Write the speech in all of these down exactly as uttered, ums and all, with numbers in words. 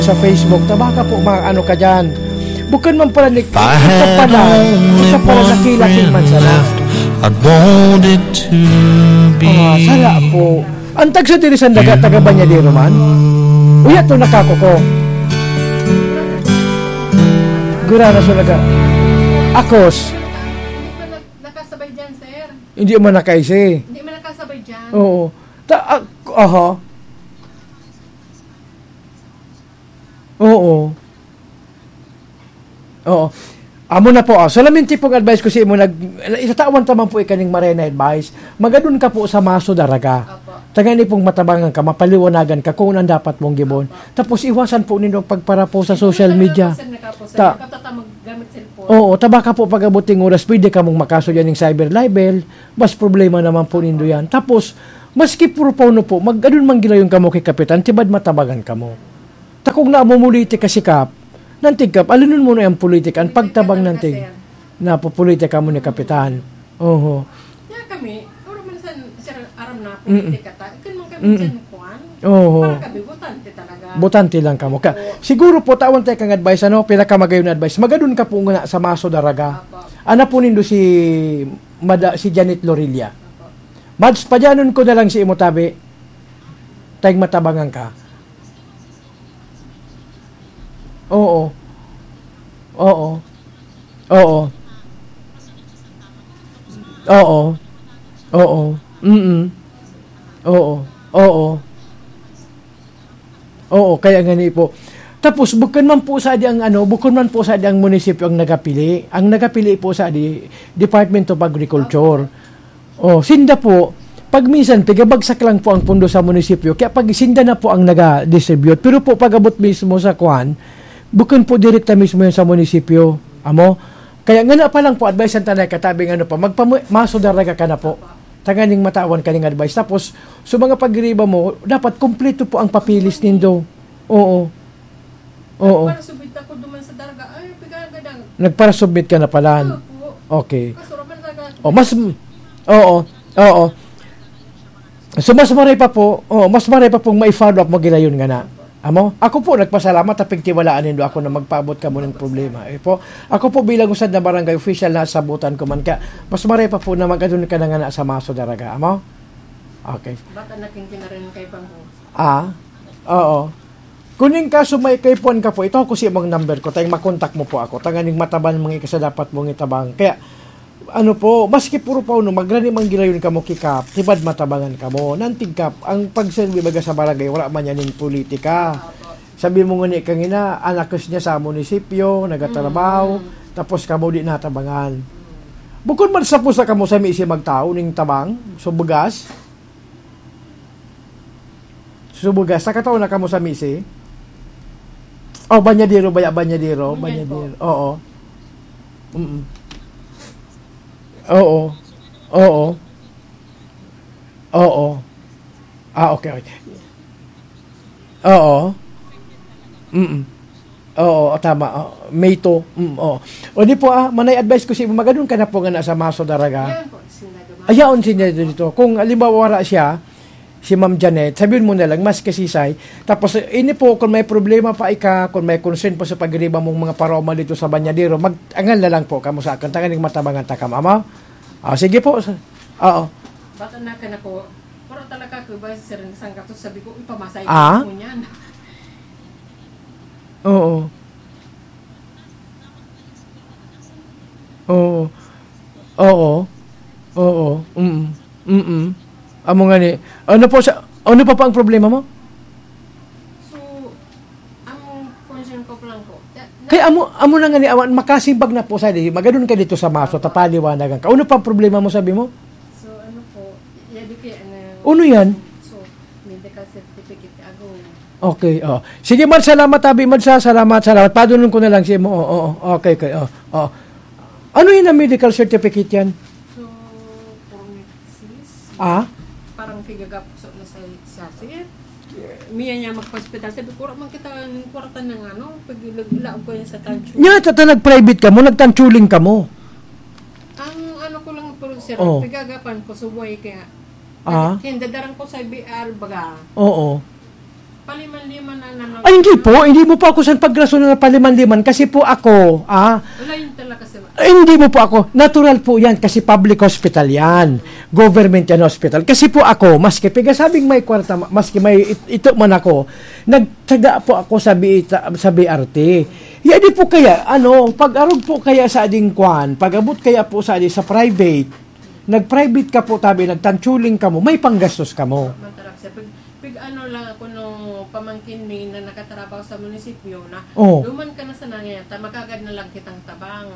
sa Facebook, ta baka po maano ka diyan. Bukon man pala ni-, ito pala, ito pala nakilaking man sana. I'd want it to be. Ah, sala po. Ang tagsa diri sa daga, taga Bañadero man. Uya to, nakakuko. Gura na sa daga. Akos. Hindi pa nag-, nakasabay dyan, sir. Hindi man nakaisi. Hindi man nakasabay dyan. Oo. Ta-, ah, aha. Oo. Oo. Amo na po, ah. Solamente pong advice ko sa imo, nag-, itatawan ta man po ikaning marhay na advice. Magadon ka po sa maso daraga. Opo. Tangani pong matabangan ka, mapaliwanagan ka kung ano ang dapat mong gibon. Opo. Tapos iwasan po nindo ang pagparapo sa social media. Nagkakaroon po, sir, nagkakaroon po, sir. Ta- Nagkatatamag gamit cellphone. Oo, ta baka po pag-abot ning oras, pwede kamong makaso diyan ning cyber libel. Mas problema naman po nindo yan. Tapos, maski puro pauno po, mag-, adun man gilayon kamo ki Kapitan, tibad matabangan kamo. Ta kung namumuliti ka si Kap, nantig Kap, alunon mo na yung politika, ang pagtabang nantig, napupolitika mo ni Kapitan. Oho. Kaya kami, puro minsan, sir, aram na, Mm. politika ta, ikon man kami Mm. dyan, kuwan. Oho. Para kami, botante talaga. Botante lang kamo. Ka, Oo. siguro po, tawan tayo kang advice, ano, pinakamagayon na advice. Magadun ka po nga sa maso daraga. Apo. Ana po nindo si Mada-, si Janet Lorilla. Apo. Mads, padyanon ko na lang si imo tabi. Tayong matabangan ka. Oo. Oo. Oo. Oo. Oo. Mm. Oo. Oo. Oo, kaya nga ni po. Tapos, bukon man po sa di ang ano, bukon man po sa di ang munisipyo ang nagapili. Ang nagapili po sa di, Department of Agriculture. Oh, sinda po, pag minsan, tigabagsak lang po ang pondo sa munisipyo, kaya pag sinda na po ang naga-distribute. Pero po, pag-abot mismo sa kwan, bukon po direkta mismo yan sa munisipyo. Amo? Kaya nga na pa lang po, advice ang tanay, katabing ano pa, magpama-, maso daraga ka na po. Tanganing matawan ka ning advice. Tapos, sa mga pagriba mo, dapat kompleto po ang papeles nindo. Oo. Oo. Nagparasubmit ako duman sa daraga. Ay, pigagadang. Nagparasubmit ka na pala. Opo. Okay. Kaso raman talaga. Oh, mas, oo, oo. So, mas maray pa po, oh, mas maray pa pong mai-follow up mo gilayon nga na. Amo? Ako po, nagpasalamat, ta pigtiwalaan nindo ako na magpaabot kamo ning problema. Eh po, ako po bilang usad na barangay official, nasabutan ko man ka, mas maray pa po na mag-adun ka na nga na sa maso daraga. Amo? Okay. Baka naking kinarin kay Bangko. Ah? Oo. Kuning kaso may kaipuhan ka po, ito ako si imong number ko, tayong makontak mo po ako. Tanganing mataban mga ikasa dapat mong itabang. Kaya, ano po, maski puro pa uno, magrani man gilayon kamo ki Kap, tibad matabangan kamo. Nantig Kap, ang pagserbi baga sa barangay, wala man yan ning politika. Sabi mo nga ni kangina, anak niya sa munisipyo, nagatrabaho, Mm. tapos kamo di natabangan. Bukod man sa pusa kamo sa misi magtao ning tabang, so bugas, Subuga, sa kataon na kamo sa misi? Oh, Banyadero, baya, Banyadero, Ngunyan Banyadero. po. Oo. Mm. Oo. Oo. Oo. Ah, okay, okay. Oo. Mm. Oo, tama. Oh, May two. Mm, oo. O di po, ah, manay advice ko si magadon ka na po nga na sa Maso Daraga. Yan po, sinadama. Ayaon siya dito. Kung halimbawa wala siya, si Ma'am Janet, sabihin mo na lang, mas kasisay. Tapos, eh, ini po, kung may problema pa ika, kung may concern pa sa pagriba mong mga paroma dito sa Banyadero, mag-angal na lang po kamo sa akin. Tanganing matabangan ta ka, mama. Ah, sige po. Sa-, oo. Bata na ka na po. Pero talaga, ko ba, sir, isang gatos, sabi ko, "Uy, pamasay Ah? ko niyan." Oo. Oo. Oo. Oo. Mm. Mm. Amo nga ni, ano po sa, ano pa pa ang problema mo? So, ang concern ko pa lang po, na, na Kaya amo, amo na nga ni awan, makasimbag na po sa di, magadon ka dito sa Maso, tapaliwanagan ka. Ano pa ang problema mo, sabi mo? So, ano po, yabi kaya na Ano yan? So, medical certificate ako. Okay, oh. Sige, Mar, salamat, Abi, Mar, sa, salamat, salamat. Padunon ko na lang siya mo. Oo, oo. Okay, okay, oh, oh. Ano yun ang medical certificate yan? So, puro nurses. Ah? Parang pigagapuso na sa, sa sir. Miya niya magpa-hospital. Sabi ko, "Wala man kita ng kwarta ng ano, pag-, laog ko yan sa tancho." Nya, tata, nag-private ka mo, nagtanchuling ka mo. Ang ano ko lang po, sir, Oh. pigagapan ko, subway kaya. Ah? Kindadarang ko sa B R, baga. Oo. Paliman-liman na naman. Ay, hindi po. Hindi mo po ako san pagrason na paliman-liman. Kasi po ako, ah, Wala yun talaga, sir. Ay, hindi mo po ako. Natural po yan kasi public hospital yan. Government yan hospital. Kasi po ako, maski pigasabing may kwarta, ma- maski may it- ito man ako, nagtsaga po ako sa, B, sa B R T. Ya di po kaya, ano, pag-arog po kaya sa ading kwan, pag-abot kaya po sa adi sa private, nag-private ka po tabi, nagtanchuling ka mo, may panggastos ka mo. Matarap siya. Pag, pag ano lang ako nung pamangkin mi na nakatrabaho sa munisipyo na, Oh. Duman ka na sa nangyayata, magagad na lang kitang tabang.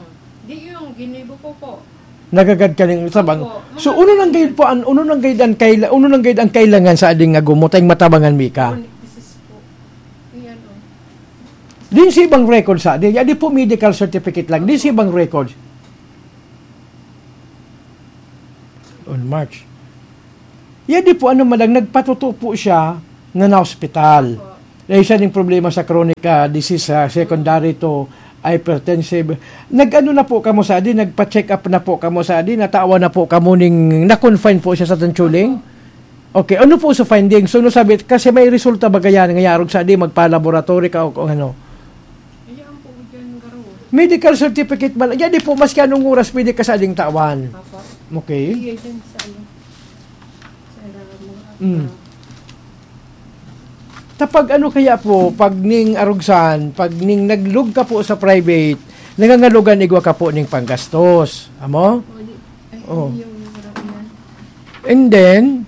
Di yung ginibo ko po. Nagagad ka ng tabang. Opo, So, mga uno nang ganyan. Gayud po, an, uno nang gayud ang kaila-, uno nang gayud ang kailangan sa ading nga gumot, ay matabangan mi ka. Chronic disease po. Yan, oh. Din si ibang record sa, di, di po medical certificate lang, din si ibang record. On March. Ya di po, ano man lang, nagpatuto po siya na na-hospital. Opo. Dahil siya ning problema sa chronic, ah, disease, ah, secondary to hypertensive. Nag-ano na po kamo sa adi, nagpa-check up na po kamo sa adi, natawa na po kamo ning, na-confine po siya sa Tanchuling? Opo. Okay, ano po sa findings? So, ano sabi, kasi may resulta ba ganyan, ngayarog sa adi, magpa-laboratory ka o kung ano? Ayan po, dyan, garo. Medical certificate ba? Yan di po, maski anong oras pwede ka sa ading tawan. Opo. Okay. Iya dyan sa ano. Sa mga Mm. Tapag ano kaya po, pag ning arugsan, pag ning naglug ka po sa private, nangangalugan igwa ka po ning panggastos. Amo? O, di, ay, Oh. Yung, And then,